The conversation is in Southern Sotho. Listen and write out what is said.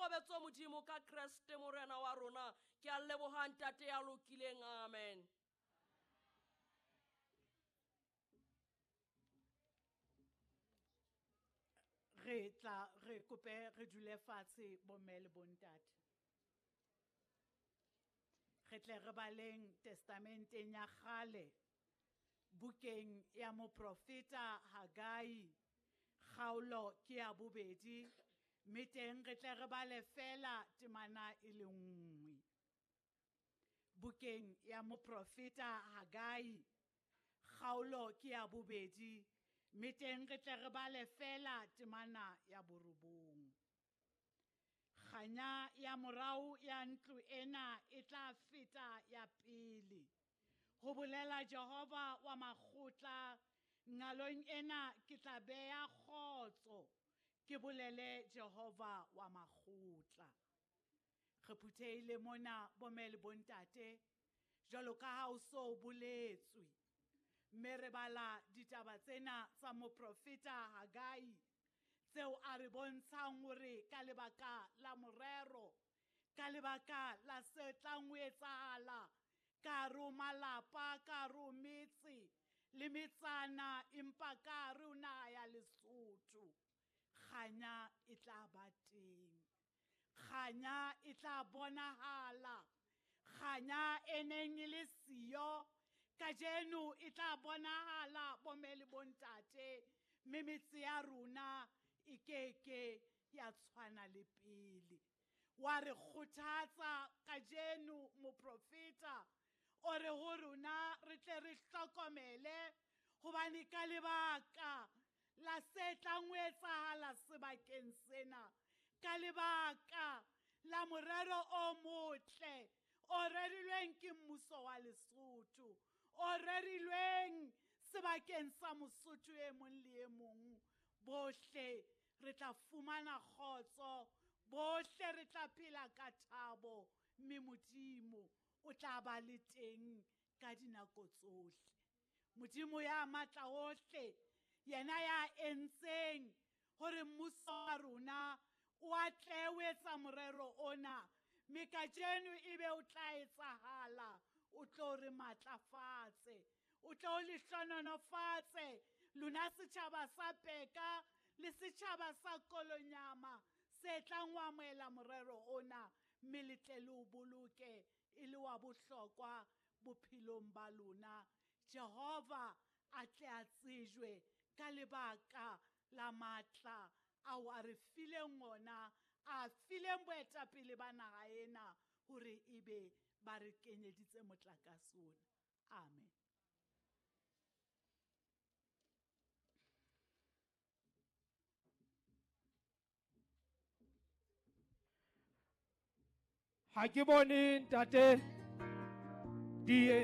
Boikokobetso Modimo ka Kreste Morena wa rona. Ke a leboha Ntate ya lokileng. Amen. Re tla re kope re dule fatshe bomme le bontate. Re tle re baleng testamenteng ya kgale bukeng ya moprofeta Hagai kgaolo ke ya bobedi mme teng re tle re bale fela temana e le nngwe. Bukeng ya moprofeta Hagai kgaolo ke ya bobedi mme teng re tle re bale fela temana ya borobong. Kganya ya morao ya ntlo ena e tla feta ya pele. Ho bolela Jehova wa makgotla, ngalong ena ke tla beha kgotso, ke bolele Jehova wa makgotla. Re phuthehile mona bomme le bontate, jwalo ka ha o so boletswe. Mme re bala ditaba tsena tsa moprofeta Hagai, tseo a re bontshang hore ka lebaka la morero, ka lebaka la se tlang ho etsahala, ka hare ho malapa, ka hare ho metse, le metsana, empa ka hare ho naha ya Lesotho, kganya e tla ba teng. Kganya e tla bonahala. Kganya e neng e le siyo, kajeno e tla bonahala bomme le bontate, mme metse ya rona e keke ya tshwana le pele. Wa re kgothatsa kajeno moprofeta, o re ho rona re tle re hlokomele, hobane ka lebaka la se tlang ho etsahala sebakeng sena, ka lebaka la morero o motle o rerilweng ke mmuso wa Lesotho, o rerilweng sebakeng sa Mosotho e mong le e mong, bohle re tla fumana kgotso, bohle re tla phela ka thabo, mme Modimo o tla ba le teng ka dinako tsohle. Modimo ya matla ohle, yena ya entseng hore mmuso wa rona o atlehe ho etsa morero ona, mme kajeno ebe o tla etsahala, o tlo re matlafatse, o tlo le hlohonolofatse lona setjhaba sa Peka le setjhaba sa Kolonyama se tlang ho amohela morero ona, mme le tle le o boloke e le wa bohlokwa bophelong ba lona. Jehova a tle a tsejwe ka lebaka la matla ao a re fileng ona, a fileng boetapele ba naha ena hore ebe ba re kenyeditse motlakase ona. Amen. Ha ke bone ntate die